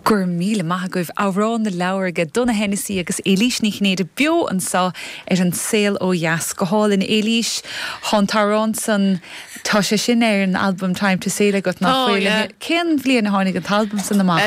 Go raibh míle maith agaibh. Amhrán na Leabhar aige Donogh Hennessy agus Éilís Ní Chinnéide beo anseo ar An Saol Ó Dheas. Go hálainn Éilís. Tá an t-amhrán san, tá sé sin ar an albam Time to Sail agat, nach bhfuil? Cén bhliain a tháinig an t-albam san amach?